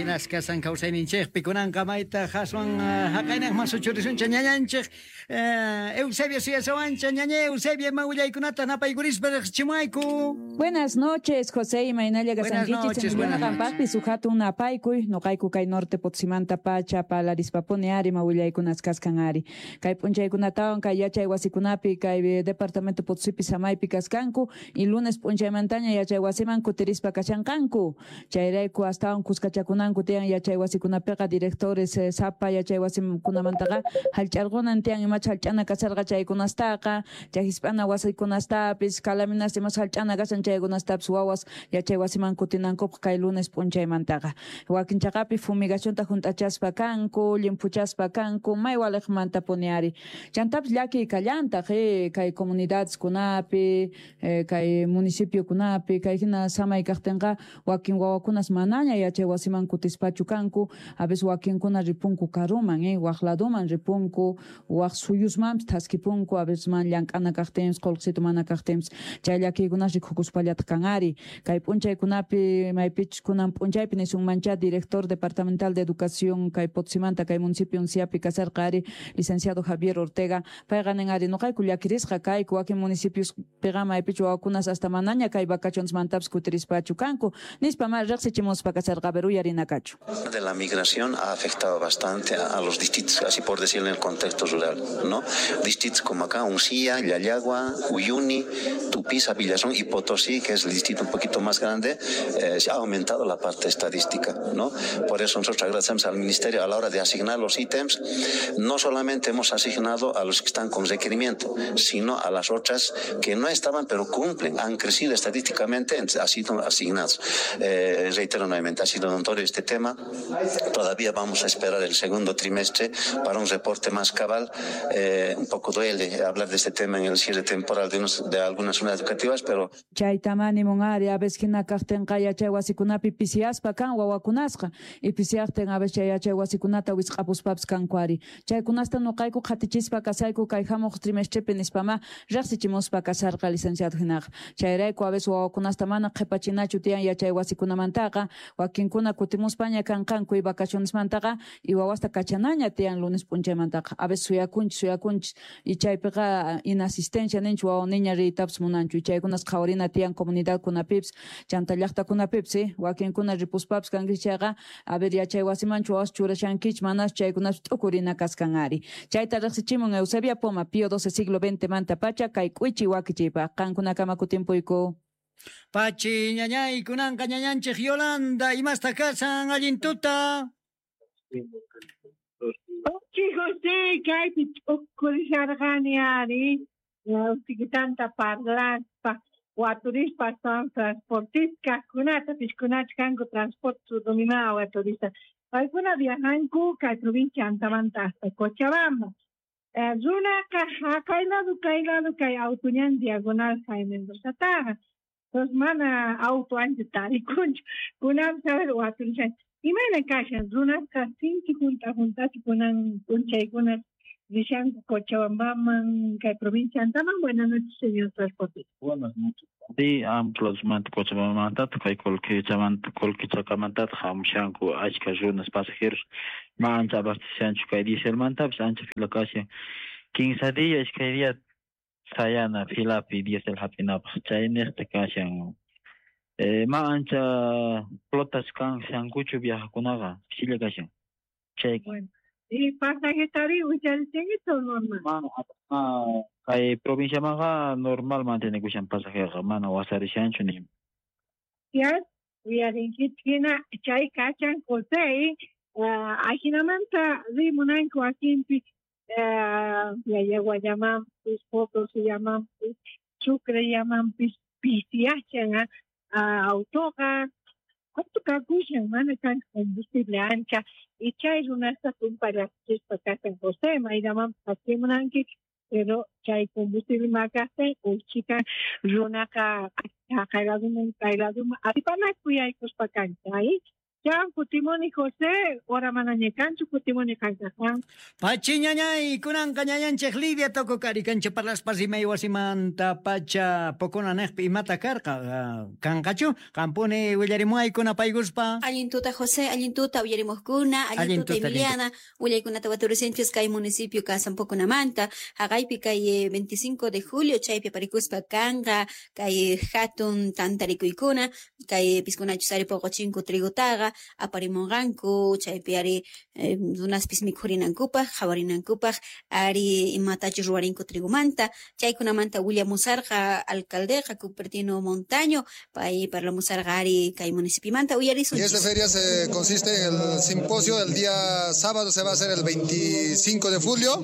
Imaynas kasan kawsayninchikpi kunanqa mayta aswan haqaynaqman suchurisunchik ñañanchik Eusebio suyasawanchik ñañay Eusebio ima willaykunata napaykurispa riqsichimuwayku. Buenas noches, José, imaynalla Buenas kasankichis noches, buenas Emiliano noches. qampaqpis uj hatun napaykuy nuqayku kay norte Potosimanta pacha parlarispapuni ari ima willaykunas kaskan ari. Kay p'unchaykunatawan kay yachay wasikunapi kay departamento Potosipi samaypi kaskanku y lunes p'unchaymantaña yachay wasiman kutirispa kashanqanku. Chayrayku astawan kuskachakunanku tiyan yachay wasikunapiqa directores sapa yachay wasikunamantaqa hallch'arqunan tiyan imacha hallch'ana kasharqa chaykunastaqa chay hisp'ana wasikunastapis calaminasta imas hallch'ana kashan chaykunastapis wawas yachay wasiman kutinankupaq kay lunes p'unchaymantaqa. Wakin chaqapi fumigacionta hunt'achaspa kanku, llimphuchaspa kanku, may waliqmantapuni ari. Chantapis llakiy kallantaq kay comunidadeskunapi, kay municipiokunapi, kay hina samay kaqtinqa wakin wawakunas manaña yachay wasiman kutispachu kanku, a veces wakinkuna ripunku karuman, waq laduman ripunku, waq suyusmanpis thaskipunku, a veces man llank'ana kaqtinpis, qullqisitu mana kaqtinpis, chay llakiykunas rikukuspallataq kan ari. Kay p'unchaykunapi maypichus kunan p'unchaypi nisunmancha director departamental de educación kay Potosimanta kay municipio Unciapi kasarqa ari licenciado Javier Ortega, payqa nin ari nuqayku llakirisqa kayku wakin municipiospiqa maypichu wawakunas hasta manaña kay vacacionesmantapis kutirispachu kanku nispa ma riqsichimuspa kasarqa. A ver, uyarinakachu. De la migración ha afectado bastante a los distritos, así por decirlo, en el contexto rural, ¿no? Distritos como acá, Uncía, Llallagua, Uyuni, Tupiza, Villazón y Potosí, que es el distrito un poquito más grande, se ha aumentado la parte estadística, ¿no? Por eso nosotros agradecemos al Ministerio a la hora de asignar los ítems, no solamente hemos asignado a los que están con requerimiento, sino a las otras que no estaban, pero cumplen, han crecido estadísticamente, han sido asignados. Reitero nuevamente, ha sido notorio este tema. Todavía vamos a esperar el segundo trimestre para un reporte más cabal. Un poco duele hablar de este tema en el cierre temporal de algunas unidades educativas, pero... Chayta nimun ari, a veces hina kaqtinqa yachay wasikunapi pisiyaspa kan wawakunasqa, y pisiyaqtin a veces chay yachay wasikunata wisq'apuspapis kanku ari. Chaykunasta nuqayku qhatichispa kasayku kay hamuq trimestrepi nispama riqsichimuspa kasarqa licenciado hinaqa. Chayrayku a veces wawakunasta mana qhipachinachu tiyan yachay wasikunamantaqa, wakinkuna kutimuspaña kanqanku y vacacionesmantaqa y wawasta kachanaña tiyan lunes p'unchaymantaqa. A veces suyakunchis y chaypiqa inasistencia ninchu wawa niña riytapis munanchu y chaykunas qhawarina tiyan comunidadkunapipis chanta llaqtakunapipis, wakinkuna ripuspapis kankichis chayqa, a ver yachay wasimanchu wawas churashankichis manachu chaykunapi t'ukurina kaskan ari. Chayta riqsichimun Eusebia Poma, Pío XII siglo XX manta pacha kay k'uichi wakichiypaq. Qankunakama kutimpuyku. Pachi ñañay kunanqa ñañanchik Yolanda, imasta kasan allin tuta. Pachi José, kaypi t'ukurisharqani ari, usikitanta parlaspa, waturispa son transportistas kunata, piskunach kanku transporte dominado waturista. Paykuna viajanku kay provincia Antamanta hasta Cochabamba. Runaqa haqay lado kay lado kay autuñan diagonal Jaime Mendozataqa. Entonces mana auto ancha tarikunchu. Kunan saber waturishan. Imayna kashan runaqa sinchi junta juntachu kunan p'unchaykuna rishanku Cochabambaman kay provincia Antaman. Buenas noches, señor transportista. Buenas noches. Sí, amplosmanta Cochabambamantataq kay Colquechamantataq hamushanku achka runas pasajeros ma ancha abastechanchu kay dieselmantapis ancha fila kashan 15 día iskay día sayana filapi diesel hap'inapaq chayniqta kashan. Ma ancha flotas kanshankuchu viajakunaqa pisilla kashan. Chay. Bueno, y pasajetari willarichinkichu normal. Mana, kay provinciamanqa normal mantenekushan pasajeroqa mana wasarishanchu ni. Ya, uyarinkichik hina chay kashan José, ajinamanta rimunanku wakinpi Llallaguallamanpis, Potosillamanpis, Sucrellamanpis pisiyashan autoqa auto kakushan mana kan combustible ancha y chay runasta tumpallachispa kashan José mayllamanpis hachimunanki pero chay combustible makaqtin uchika runaqa haqay laduman kay laduman atipanaku yaykuspa kancha. Chau, kutimuni José, ora manañekanchu kutimuni qaykaqwan. Pachi ñañay, kunanqa ñañanchik Lidia Tococari kancha parlaspa rimay wasimanta pacha pokona neqpi imata karqa kanqachu qampuni willarimuaykuna paykuspa. Allin tuta José, allin tuta uyarimuqkuna, allin tuta Emiliana, willaykunata waturisinchis kay municipio kasan Poconamanta, haqaypi kay 25 de julio chaypi aparikuspa kanqa kay hatun tantarikuykuna, kay piskunachus ari poqochinku trigutaqa aparimunqanku chaypi ari runaspis mikhurinankupaq qhawarinankupaq ari imatachus ruwarinku trigumanta chaykunamanta willamusarqa alcaldeqa Cupertino Montaño pay parlamusarqa ari kay municipiomanta uyarisunchis. Y esta feria se consiste en el simposio del día sábado, se va a hacer el 25 de julio.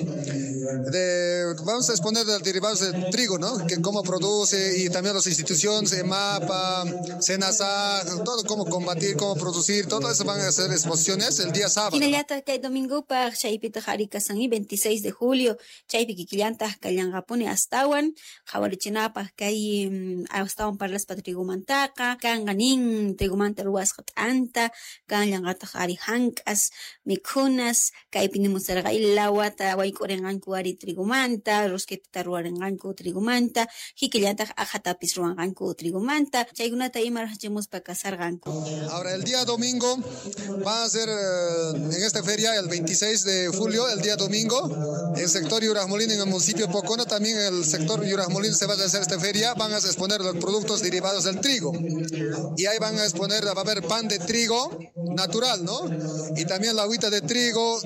Vamos a exponer los derivados del trigo, ¿no? Que cómo produce y también las instituciones, EMAPA, SENASA, todo cómo combatir, cómo producir, todo eso van a hacer exposiciones el día sábado. Hinallataq kay domingopaq chaypitaq ari kasan 26 de julio chaypi kikillantaq kallanqapuni astawan qhawarichinapaq kay astawan parlaspa trigumantaqa kanqa nin trigumanta ruwasqa t'anta kanllanqataq ari hank'as mikhunas kaypi nimusarqa lawata wayk'urinqanku ari trigumanta rosquetata ruwarinqanku trigumanta kikillantaq aqhatapis ruwanqanku trigumanta chaykunata ima rachimuspa kasarqanku. Ahora el día domingo va a ser en esta feria el 26 de julio, el día domingo, en el sector Yurajmolín, en el municipio Pocona, también en el sector Yurajmolín se va a hacer esta feria, van a exponer los productos derivados del trigo. Y ahí van a exponer, va a haber pan de trigo natural, ¿no? Y también la agüita de trigo,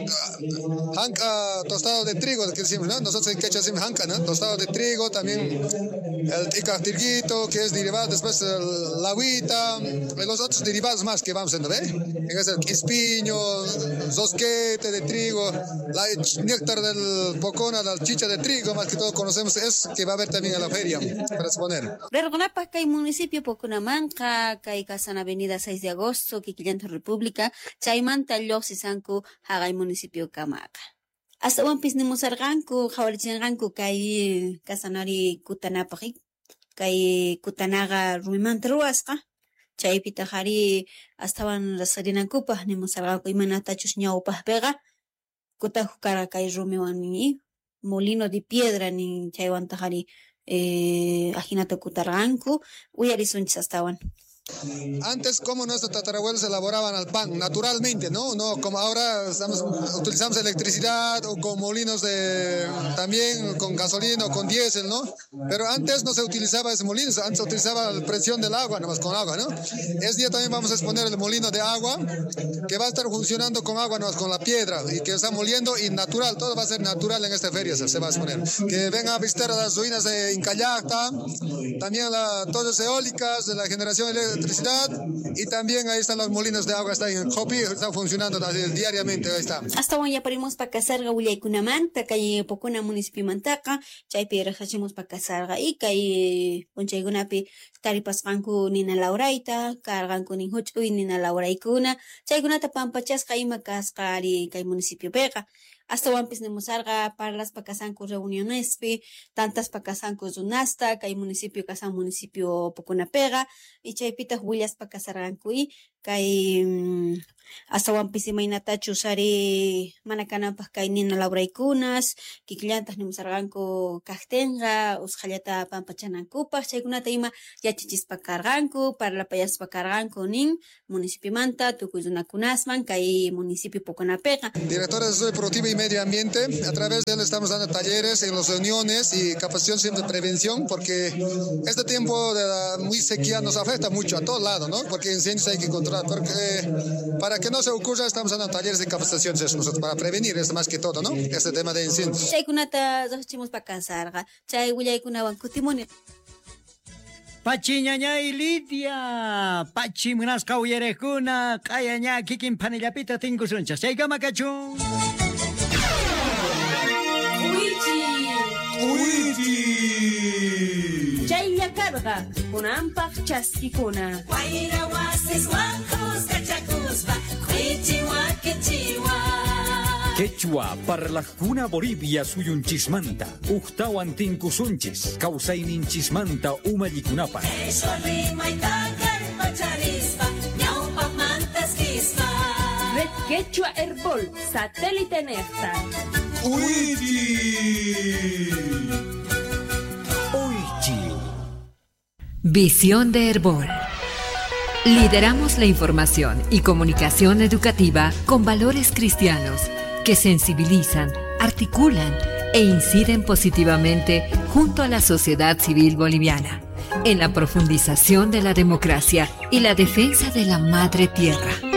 janca, tostado de trigo, que decimos, ¿no? Nosotros en quechua decimos janca, ¿no? Tostado de trigo, también el ticaftirguito, que es derivado, después la agüita, los otros derivados más que vamos a ver, es el quispiño, zosquete de trigo, la néctar del Pocona, la chicha de trigo, más que todo conocemos, es que va a haber también en la feria para exponer. Rerqunapaq kay municipio Poconamanqa, kay kasan avenida 6 de agosto, kikillanta República, chaymanta lluqsisanku haqay municipio kamaqa. Astawanpis nimusarqanku, qhawarichinqanku kay kasanari kutanapaq, kay kutanaqa rumimanta ruwasqa. Chaypitaq ari astawan rasarinankupaq nimusarqanku imanatachus ñawpaqpiqa kutajuq karqa kay rumiwan nin molino de piedra nin chaywantaq ari ajinata kutarqanku uyarisunchis astawan. Antes, como nuestros tatarabuelos elaboraban el pan naturalmente, ¿no? No como ahora utilizamos electricidad o con molinos de también con gasolina o con diésel, ¿no? Pero antes no se utilizaba ese molino, antes se utilizaba la presión del agua, nomás con agua, ¿no? Ese día también vamos a exponer el molino de agua que va a estar funcionando con agua, nomás con la piedra y que está moliendo y natural, todo va a ser natural en esta feria, se va a exponer. Que vengan a visitar las ruinas de Incallacta, también las torres eólicas de la generación eléctrica, y también ahí están los molinos de agua, está en Jopi, está funcionando diariamente, ahí está. Astawan yaparimos pa kasarqa willaykunamanta kay Pocona municipiomantaqa chaypi raqsachimos pa kasarqa y kay p'unchaykunapi taripasqanku nina lawrayta karqanku nin huch'uy nina lawraykuna chaykunata pampachasqa ima kasqa ari kay municipiopiqa. Astawanpis nimusarqa parlaspa kasanku reunionespi tantaspa kasanku runasta kay municipio kasan municipio Poconapiqa y chaypitaq willaspa kasarqanku y kay astawanpis imaynatachus ari mana kananpaq kay nina lawraykunas kikillantaq nimusarqanku kaqtinqa usqhallata pampachanankupaq chaykunata ima yachachispa karqanku parlapayaspa karqanku nin municipiomanta tukuy runakunasman kay municipio Poconapiqa. Directora de Desarrollo Productivo y Medio Ambiente, a través de él estamos dando talleres en las reuniones y capacitación siempre de prevención, porque este tiempo de la muy sequía nos afecta mucho a todos lados, ¿no? Porque incendios hay que controlar, porque para que no se ocurra estamos dando talleres de capacitación nosotros para prevenir es más que todo, ¿no? Este tema de incendios. Chaykunata riqchimuspa kasarqa, chay willaykunawan kutimuni. Pachi ñañay Lidia, pachi munasqa uyariqkuna, q'ayaña kikin panillapita tinkusunchis. Chaykama kachun. Chaylla karqa kunanpaq chaskikuna. Wayra wasiswan kuskachakuspa q'ichi wakichiwa. Quechua parlajkuna Bolivia suyunchismanta, uktawan tinkusunchis, kawsayninchismanta umallikunapaq. Qhishwa rimayta kallpacharispa ñawpaqmantaskispa. Quechua Herbol satélite nejta. Uychi. Visión de Herbol. Lideramos la información y comunicación educativa con valores cristianos que sensibilizan, articulan e inciden positivamente junto a la sociedad civil boliviana en la profundización de la democracia y la defensa de la madre tierra.